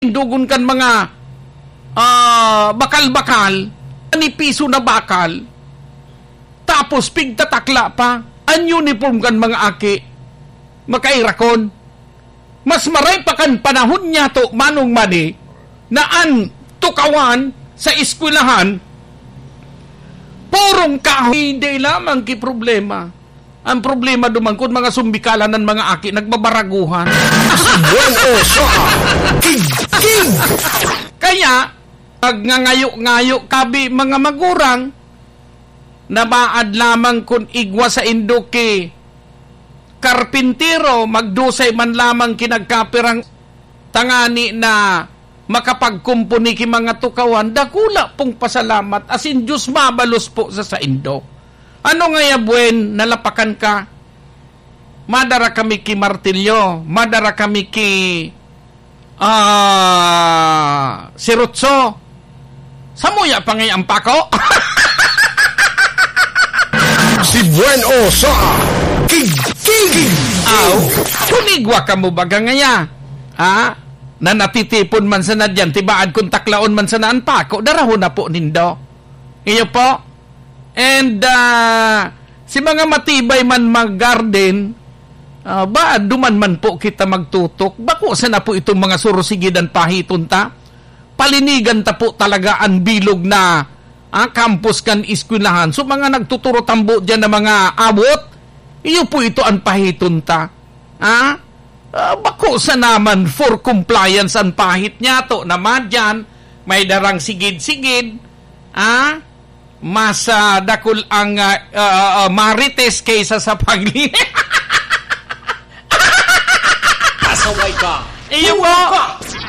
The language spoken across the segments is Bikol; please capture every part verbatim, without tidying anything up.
tindugon kan mga, ah, bakal-bakal, manipiso na bakal, tapos pigtatakla pa, an uniform kan mga aki, makairakon. Mas maray pa kan panahon niyato, Manong Manny, na an tukawan sa eskwelahan, purong kahoy, hindi lamang ki problema. Ang problema duman kun mga sumbikalan ng mga aki nagbabaraguhan. Buen o sa King King. Kaya, pag ngangayo-ngayo kabi mga magurang, nabaad lamang kun igwa sa indo ki karpintero, magdusay man lamang ki nagkapirang tangani na makapagkumpuni ki mga tukawan, dakula pong pasalamat, asin Diyos mabalos po sa saindo. Ano ngaya, Buen, nalapakan ka? Madara kami ki martilyo, madara kami ki, ah, sirutso. Samuya pa ngaya ang pako? Si Buen o sa King King. Aw, kun igwa kamo baga ngaya, ha? Na natitipon man sana diyan, tibaad kun taklaon man sana an pako, darahon na po nindo. Iyo po. And, ah, si mga matibay man mag-garden, ah, ba, duman man po kita magtutok. Bako sana po itong mga surusigid an pahiton ta. Palinigan ta po talaga an bilog na, ah, campus kan eskwelahan. So, mga nagtuturo tambo diyan na mga awot, iyo po ito an pahiton ta. Ah? Ah, bako sana man for compliance an pahit niyato na madyan, may darang sigid-sigid, ah? Mas, ah, dakul ang, ah, ah, ah, marites kaysa sa pagli-, Pasaway ka! Iyo Puro po. Ka!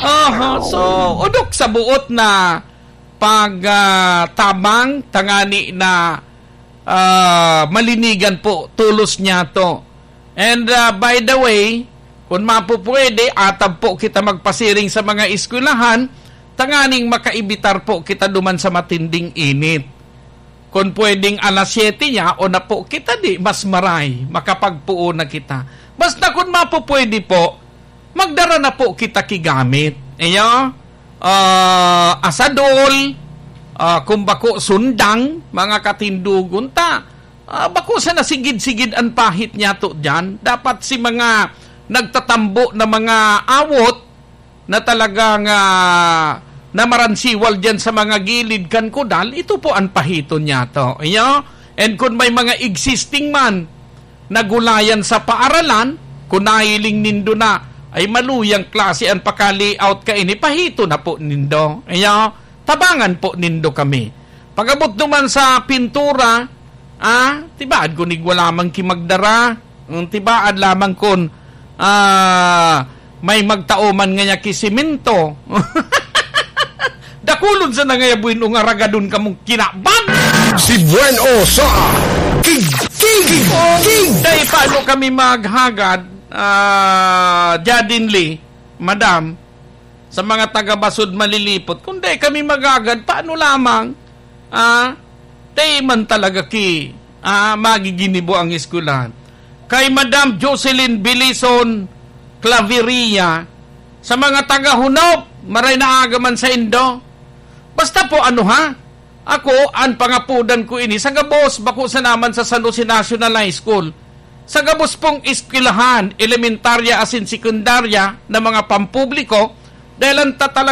Oho. So, odok sa buot na pag, ah, tabang, tangani na, ah, malinigan po, tolos niyato. And, ah, by the way, kun mapupwede, atab po kita magpasiring sa mga eskwelahan, tanganing makaibitar po kita duman sa matinding init. Kun pwedeng alas siyete niya, o na po kita di, mas maray, makapagpuo na kita. Basta kun mapupwede po, magdara na po kita ki gamit. Iyo, ah, asadol, ah, kung bako sundang, mga katindogon ta. Ah, bako sana sigid-sigid an pahit niyato diyan. Dapat si mga nagtatambo na mga awot na talagang, ah, namaransiwal diyan sa mga gilid kan kudal, ito po an pahiton niyato. Iyo? And kun may mga existing man, nagulayan sa paaralan, kun nahiling nindo na, ay maluyang klase an paka-layout kaini, pahito na po nindo. Iyo, tabangan po nindo kami. Pag-abot naman sa pintura, ah, tibaad kun igwa lamang ki magdara. Mm, tibaad lamang kun, ah, may magtao man ngaya ki semento. Dakulon sana ngaya buin o nga ragadon kamong kinaban. Si Buen o sa King, King, King. Dai, paano kami maghagad, ah, Jadin Lee, Madam, sa mga taga-Basud Malilipot? Kung dai kami maghagad, paano lamang? Ah, dai man talaga ki, ah, magiginibo ang eskwelahan. Kay Madam Jocelyn Bilison Claveria, sa mga taga-Hunob, maray na aga man saindo. Basta po, ano ha, ako, an pangapodan ko ini sa gabos, bako sana man sa San Jose National High School. Sa gabos pong eskwelahan, elementarya asin sekundarya na mga pampubliko, dahil an tatalaga